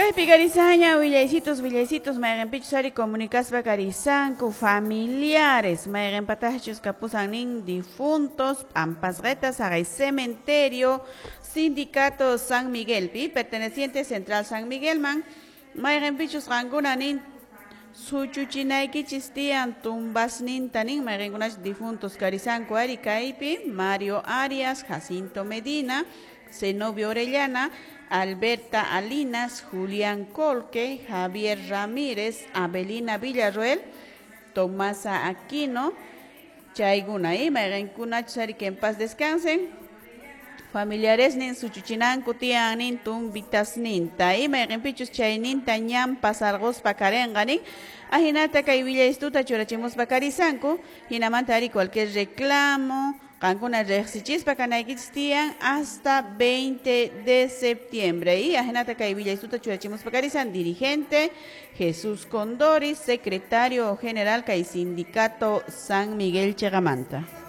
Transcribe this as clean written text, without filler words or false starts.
Kaypi karisaña willaysitos, willaysitos, mayqinpichus ari comunicaspa karisanku familiares, mayqinpataqchus kapusan nin difuntos, p'ampasqeta saqay cementerio, sindicato San Miguelpi, perteneciente Central San Miguelman, mayqinpichus qankuna nin suchuchinaykichis tiyan tumbasninta nin mayqinkunachus difuntos karisanku ari kaypi Mario Arias, Jacinto Medina, Zenobio Orellana, Alberta Alinas, Julián Colque, Javier Ramírez, Abelina Villarroel, Tomasa Aquino, chaykuna mayqinkunachus ari que en paz descansen. Familiares nin suchuchinanku tiyan nin tumbitasninta mayqinpichus chayninta ñan pasarquspa karenqa nin ajinata kay willaystuta churachimuspa karisanku hinamanta ari cualquier reclamo qankuna riqsichispa kanaykichis tiyan hasta 20 de septiembre. Y ajinata kay willaystuta churachimuspa karisan dirigente Jesús Condori, secretario general kay sindicato San Miguel Chegamanta.